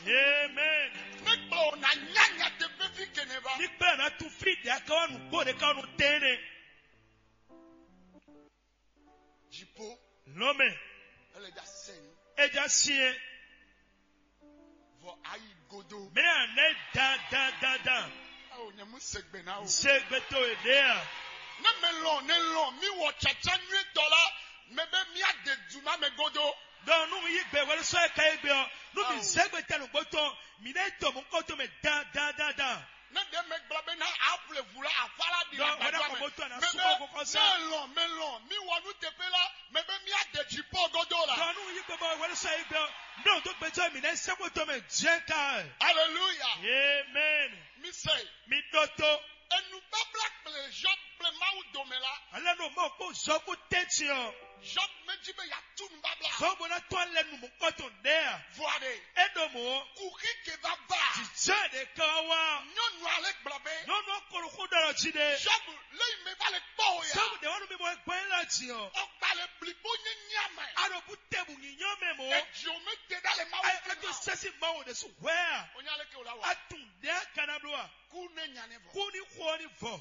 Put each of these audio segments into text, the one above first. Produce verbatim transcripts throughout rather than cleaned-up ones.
Amen. Nígbà wo na nyanya te fífi kene va. Nígbà na tu fi ɖe aka wa nukpó ɖe ka nu tɛnɛ. Dziƒo. Lɔmɛ. Ele dza sɛn. Edza siɛ. Vɔ ayi godo. Mɛ a nɛ dan dan dan dan. Awo nyɛ mu segbe na o. Segbe to e ɖe a. Ne mɛ lɔn ne lɔn mi wɔ tsatsa nyuie dɔ la, mɛ bɛ mi a de duma mɛ godo. Dɔn nu mi yi gbe wɛrɛ sɔ e ka yi gbe ɔ, nu mi zɛgbe tɛ nugbo tɔn, mi ne tɔ mɔ kɔtɔ mɛ dan dan dan dan. Ne ɖe mɛ gblɔ be na aƒle vu la afa la ɖi. Dɔn wɛrɛ kɔ bɔ to na sukɔ kɔkɔ sa. Mɛ lɔn mɛ lɔn mi wɔ nu teƒe la, mɛ bɛ mi a de dzi pɔ godo la. Dɔn nu yi gbe bɔ wɛrɛ sɔ yi gbe ɔ, ne o do gbɛjɔ mi ne sɛkpɔtɔ mɛ jɛ ka. Hallelujah. Amen. Mi sɛ. Mi ɖɔ to. Enu babla kple Job kple Mawu dome la. Ale no mɔ kpó zɔ kó tɛntin ɔ. Job mɛ jí be ya tu nu babla. Zɔ bó ná tɔn lɛ nu mɔkpɔtɔn ɖe a. Vɔa ɖe. E ɖo mɔ. Kuxi ke va va. Jijɛ ɖe ka wa. Nyɔnu ale gblɔ be. Nyɔnu kolo xó ɖɔ lɔ jí ɖe. Job lé yi mɛ va le kpɔ o ya. Sɔmu ɖe wanu mi mɔ gbɛn la jí ɔ. Ɔkpa le blikpo nye nyama. Aɖo bu tɛbu nyi nyɔ mɛ mɔ. Eji o mɛ te ɖa le Mawu. Ayi fɛn eto na. Sɛsi Mawu ɖe su hwɛ a. O nya le ke o la wa. Atun ɖe a kana blo a. Kú ní nya ní vɔ. Kú ní xó ní vɔ.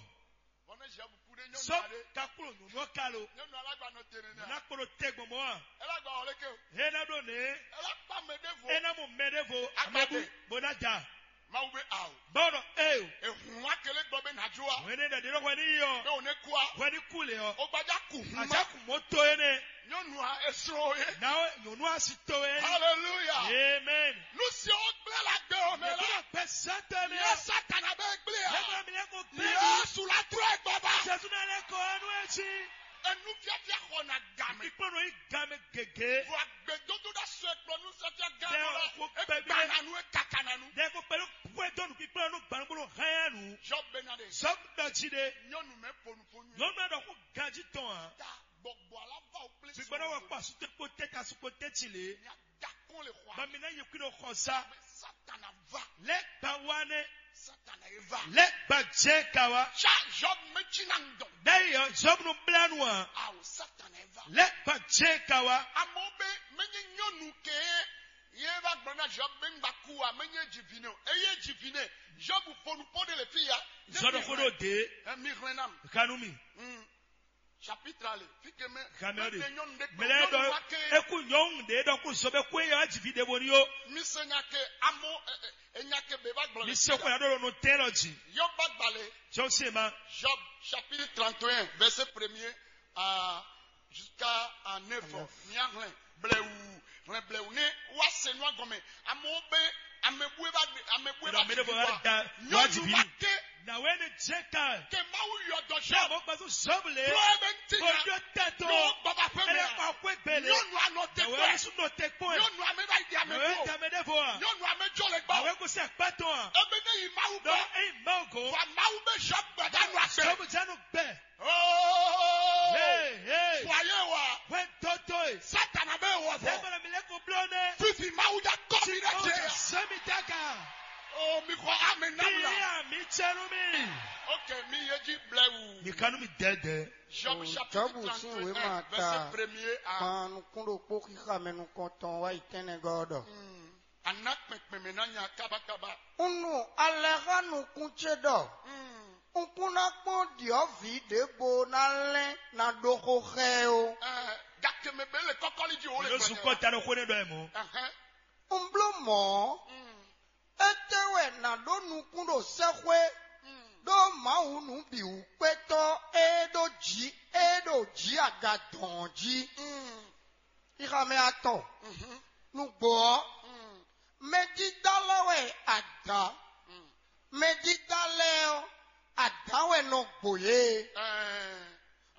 Bɔ ne Job kú ɖe nyɔnu. Sɔ aɖe. Kaklo nyɔnu ɔ ka lo. Nyɔnu alágbànɔ tene nɛ. Ná kplɔ tɛ gbɔn mɔ a. Ela gba wɔ leke o. He ná ɖo nɛ. Ela kpa mɛ ɖe vo. E ná mɔ mɛ ɖe vo. Agbade. Amɛbu bó ná da. Mawu be awo. Bɔnɔ e o. Ehun wa kele gbɔ be na jo a. Wɛn ne ɖe ɖe hwɛ ní yi ɔ. Be o ne kú a. Hwɛ ní kú le ɔ. O gbaja ku hun ma. Àjà kù mɔ tó e nɛ. Nyɔnua esrɔ̃ ye. Nawe nyɔnua si to ye. Hallelujah. Amen. Nu siwo gblẽ le agbe o mɛ la. Nyɔnua gbɛ sɛtɛ mi. Ye Satana bɛ gblẽ a. Nyɔnua mi lɛ ko gbɛ. Yesu la trɔ egbɔ ba. Jesu na lɛ kɔ enu etsi. Enu fiafia xɔ na game. Ikpɔnɔ yi game gege. Vɔ agbedodo da sɔ ekplɔ nu fiafia gan la. Dɛ o ko gbɛ bi. Egba na nu ekaka na nu. Dɛ ko pɛlu pue dɔnu kpikpla nu gbanubolo hɛn nu. Job bɛ na de. Job dɔ dzi de. Nyɔnu mɛ ponu ponu. Nyɔnu dɔ ko ganji tɔn a. Ta. Gbɔgbɔ alaba o kple. Gbigbɔɖɔ wɔ kpɔ asutɔ kpo tɛ ta sukpo tɛ ti le. Nya da kɔn le xɔ. Bamina yi kwi ɖo xɔ sa. Satana va. Lɛ gba wa ne. Satana ye va. Lɛ gba jɛ ka wa. Tsa Job mɛ dzi na ŋdɔ. Bɛyi yɔ Job nu bla nu a. Awo Satana ye va. Lɛ gba jɛ ka wa. Amewo be menye nyɔnu ke ye va gblɔ na Job be ŋgba ku a menye dzi vi ne o. Eye dzi vi ne Job fonu po de le fi ya. Zɔɖɔ xo ɖo de. Ɛ mi hlɛn nam. Kanu mi. Mm. Chapitre ale, fi ke mɛ. Xamɛ de. Mɛlɛ dɔ eku nyɔnu de dɔ ku sɔbɛ ku eya dzi vi de bo ni yo. Mi se nya ke amo enya ke be va gblɔ. Mi se ko ya ɖo no tɛ lɔ dzi. Yɔ ba gbalɛ. Jɔ se ma. Job chapitre trente et un, verset premier à jusqu'à à neuf. Mia hlɛn blɛwu hlɛn blɛwu ne wa se nua gɔmɛ. Amewo be ame bue va ame bue va dzi vi wa. Nyɔnu wa ke. Na wɛ ne jɛ ka. Ke Mawu yɔ dɔ sɔ. Mo gbazu sɔbule. Trɔ ebe ŋuti na. Ojo tɛto. N'o gbɔba fɛn mi. Ele kɔ akwe gbele. Nyɔnu anɔ te kpɛ. Nyɔnu ame va yi di ame ko. Nyɔnu ame de vo a. Nyɔnu ame jɔ le gbɔ. Awe ko se kpɛtɔ a. Ebe ne yi Mawu gbɔ. Dɔ eyi Mawu go. Wa Mawu be sɔ gbɛdanu akpɛ. Sɔbu janu gbɛ. Oh! Hey, hey. Fɔ ayé wa. Wɛn tɔtɔ ye. Satana bɛ wɔ fɔ. Sɛgbɛrɛ mi lɛ ko blɔ nɛ. Fifi Mawu ja kɔ mi ɖe jɛ. Sɛmi daga. Oh, mi xɔ ame nam la. Mi ya mi tsɛnu mi. Ok, mi ye ji blɛwu. Mi kanu mi dɛdɛ. Job chapitre trente et un, verset premier à. Kpan nukún ɖokpó xixa mɛ nukɔntɔn wá yi tɛnɛgɔ́ ɖɔ. Ana kpɛnkpɛn mɛ ná nya kábákábá. Un nu alɛ xá nukún ce ɖɔ. Un kún ná kpɔ́n ɖyɔ̌vǐ ɖěvo ná lɛ́n ná ɖó xó xá ɛ ó. Ɛ, gake mɛ bɛ le kɔkɔli ji wo le. Yóò sukɔ ta ɖo xó nɛ ɖɔ ɛ mɔ. Ɛhɛn. Un bló mɔ̌. Étɛ́ wɛ nǎ ɖó nukún ɖo sɛ́xwé ɖó Mawu nǔbǐwúkpétɔ́ e ɖo jǐ e ɖo jǐ aga dɔn ɔ́ jí? Xixa mɛ atɔn. Nǔgbó ɔ́, mɛdídá lɛ́ɛ wɛ adǎ. Mɛdídá lɛ́ɛ ɔ́, adǎ wɛ nɔ gbo yě.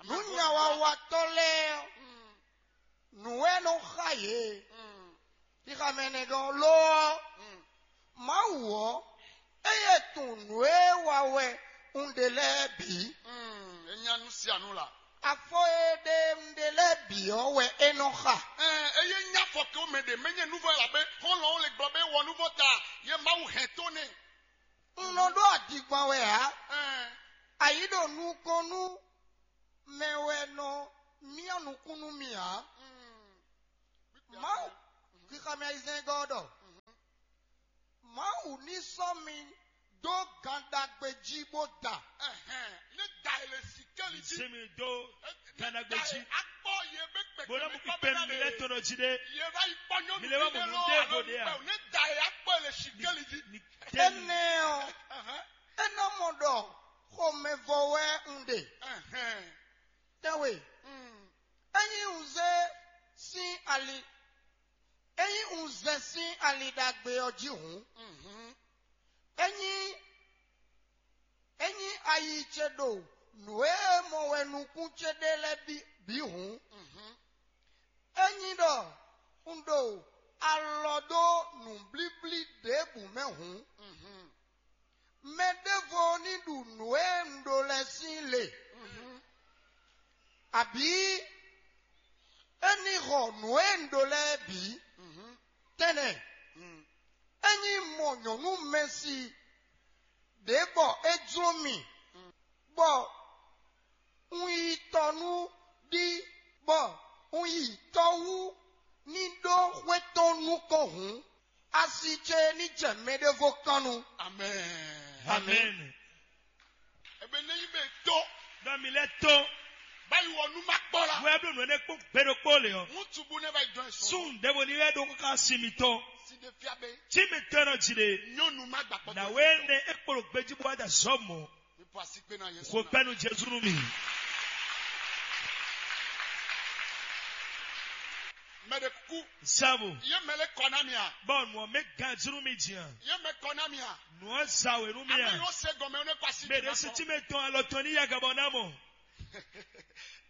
Nǔnyawawatɔ́ lɛ́ɛ ɔ́, nǔ wɛ nɔ xa yě. Xixa mɛ nɛgɔ́n lo ɔ́, Mawu ɔ́, eye tunwun nǔ e wa wɛ un ɖe lɛ́ɛ bǐ. É nya nú sia nú la. Afɔ e ɖe un ɖe lɛ́ɛ bǐ ɔ́ wɛ é nɔ xa. Ɛɛ, eye nya fɔ ke wo mɛ ɖe mɛ nyɛ nuvɔ la be xɔlɔn wo le gblɔ be wɔ nuvɔ ta ye Mawu hɛn to nɛ. Un nɔ ɖó adingban wɛ ǎ. Ɛɛ. Ayi ɖo nukɔn nú mɛ wɛ nɔ myɔ nukún nú mì ǎ. Mawu, xixa mɛ ayizɛ́ngɔ́ ɔ́ ɖɔ: Ní sɔ́ mi dó gan ɖagbe jí bó da. Ɛhɛn, ne da e le si keli jí. Se mi dó gan ɖagbe jí. Akpɔ ye be kpɛkpɛ. Bó ná mú kpíkpé mi lɛ tɔn jí ɖé. Ye va yi kpɔ nyɔnu. Mi lɛ va mɔ nǔ ɖé vo ɖé a? Ne da e akpɔ e le si keli jí. Énɛ́ ɔ́, é nɔ mɔ ɖɔ xomɛvɔ wɛ un ɖe. Ɛhɛn. Tɛ́nwe, ényí un zé sín ali, ényí un zɛ sín ali ɖagbe ɔ́ jí hǔn, ényí, ényí ayi ce ɖo nǔ e mɔ wɛ nukún ce ɖe lɛ́ɛ bǐ, bǐ hǔn, ényí ɖɔ un ɖo alɔ dó nǔblíblí ɖěbǔ mɛ hǔn, mɛ ɖěvo ní ɖu nǔ e un ɖó lɛ́ɛ sín le, abǐ é ní xɔ nǔ e un ɖó lɛ́ɛ bǐ. Tɛ́nnɛ, ényí un mɔ nyɔ̌nu mɛsi ɖě bɔ é jló mì, bɔ un yi tɔ nú ɖí, bɔ un yi tɔ wú ní ɖó xwé tɔn nukɔn hǔn, asi ce ní jɛ mɛɖévo kan nu. Amɛn. Amɛn. Ebe ne nyi be to. Ɖɔ mi lɛ to. Bayi wɔ nu ma kpɔ la. Wɛ bló nǔ énɛ́ kpó gbe ɖokpó le ɔ. Ŋutsu bu ne va yi dɔn esɔn. Sun ɖěvo ní wɛ ɖó ká si mitɔn. Si de fia be. Tí mi tɔn nɔ jí ɖe. Nyɔnu ma gba kpɔtɔ. Na wɛ ne ekpolo gbeji bɔ ada zɔ mɔ. Mi pɔ asi kpe na Yesu. Ko pɛnu Jesu nu mi. Mɛ ɖe kuku. Sabu. Ye mɛ le kɔ na mi a? Bɔ nɔ mɛ gan zunu mi jí a? Ye mɛ kɔ na mi a? Nɔ za we nu mi a? Ame yo se gɔmɛ ne kɔ asi. Mɛ ɖe si tí mi tɔn alɔ tɔn ní yaga bɔ na mɔ.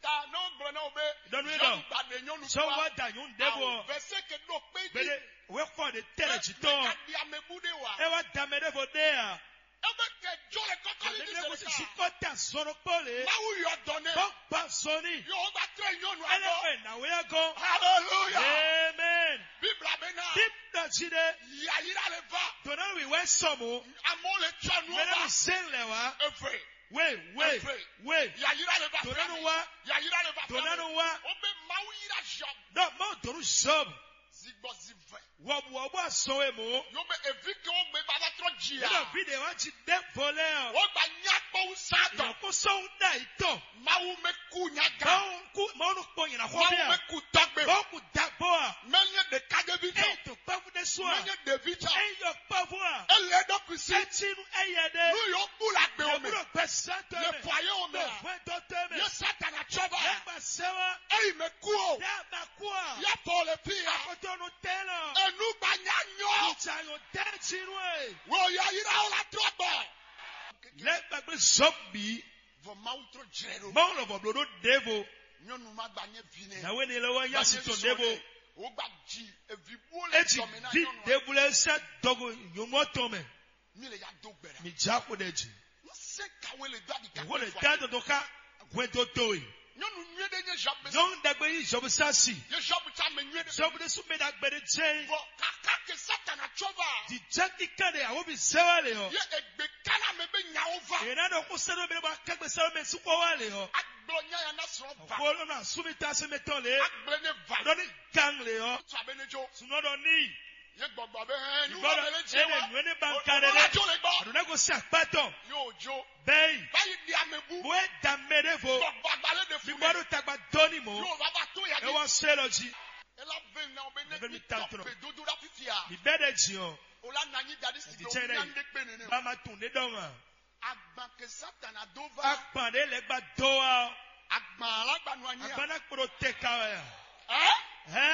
Ta n'o gblɔ n'o be. Dɔnnu yɛ dɔ. Sɔ wa da nyɔnu ɖe bɔ. Vɛsɛ ke ɖo kpe jí. Bɛ de we kɔ de tɛ le jí tɔn. Adi amebu de wa. E wa da mɛ ɖe vo de a. Ebe kɛ jɔ le kɔkɔli ní sɛnɛ kan. Sukɔ ta zɔnɔ kpɔ le. Mawu yɔ dɔn nɛ. Bɔ gba zɔni. Yɔ o gba trɛ nyɔnu. Ele agɔ. Fɛ na wɛ agɔ. Hallelujah. Amen. Bibla bɛ na. Bibla jí ɖe. Yayira le va. Donna wi wɛ sɔmu. Amewo le tsɔ nu. Mɛ ne mi se lɛ wa. Efe. We, we, we. Yayira le va. Donna nu wa. Yayira le va. Donna nu wa. O bɛ Mawu yira Job. Dɔ Mawu donu Job. Zigbɔ zivɛ. Wɔbuwɔbu asɔn e mɔ. Yɔ bɛ evi ke wo gbe baba trɔ dzi. Yɛlɛ vi de wa dzi de volɛ o. Wo gba nya kpɔwu sa tɔ. Yɔ ko sɔn da yi tɔ. Mawu mɛ ku nya ga. Mawu ku, Mawu nu kpɔ nyina xɔ bia. Mawu mɛ ku tɔgbe. Mawu ku dagbo a. Mɛ nye ɖeka ɖe vi tɔ. Eyi to kpɛvu de so a. Mɛ nye ɖevi tɔ. Eyi yɔ kpɛvu a. Ele ɖo kusi. Etinu eyɛ de. Nu yɔ bu la gbe o mɛ. Yɔ bu ɖo gbɛ sɛ tɔ mɛ. Le fɔ ye o mɛ. Le fɔ ye tɔ tɔ mɛ. Ye Satana tsɔ ba. Ye gba sɛ wa. Eyi mɛ ku o. Ye gba ku a. Ye fɔ le fi ya. Akɔtɔnu tɛ lɔ. Enu gba nya nyɔ. Ìjà yóò dẹ́ sínú ẹ̀. Wò yayira o la trɔ gbɔ. Lɛ gbàgbé zɔbì. Vɔ Mawu trɔ jrɛ ɖo. Mawu lɔ vɔ bló ɖó ɖěvo. Nyɔnu ma gba nyɛ vi nɛ. Yàwé ni lɛ wá yá si tɔn ɖěvo. O gba dzi evi bó le. Etsi vi ɖěvo lɛ sɛ dɔgo nyɔnu tɔn mɛ. Mi le ya do gbɛ ɖa. Mi dza ko ɖe dzi. N se kawe le do adi. Wo le da dodo ka hwɛndo towe. Nyɔnu nyuie ɖe nye Job. Nyɔnu ɖagbe yi Job sasi. Ye Job tsa me nyuie ɖe. Job ɖe su mɛ ɖagbe ɖe jɛ. Vɔ kaka ke Satana tsɔ va. Di jɛ kika ɖe awo bi zɛ wa le ɔ. Ye egbe kana me be nyawo va. Yena ɖɔ ko sɛ ɖo mɛ ɖe ba kɛgbe sɛ ɖo mɛ sukɔ wa le ɔ. Agblɔ nya ya na srɔ̃ va. Ko lɔ na sumi ta se mɛ tɔn le. Agblɔ ne va. Ɖɔ ni gang le ɔ. Tsa be ne jo. Sunɔ ɖɔ ni. Ye gbɔgbɔ be hɛn nu. Gbɔdɔ ele nu ene ba nka ɖe ɖe. Ɔdɔ ne ko se akpatɔ. Yóò jo. Bɛyi. Báyìí di amebu. Bo e da mɛ ɖe vo. Gbɔgbɔ agbalẽ de fún mi. Gbɔdɔ tagba dɔni mo. Yóò va va tó ya. Ewa se lɔ dzi. Ela ve na o be ne mi tɔ pe dodo la fifia. Mi bɛ ɖe dzi o. O la na nyi dadi si do nya ne kpe nene. Ba ma tun ne dɔn ma. Agban ke Satana do va. Agban ɖe lɛ gba do wa. Agban alagbanu anyi. Agban na kplɔ tɛ ka wa ya. Ɛ. Ɛ.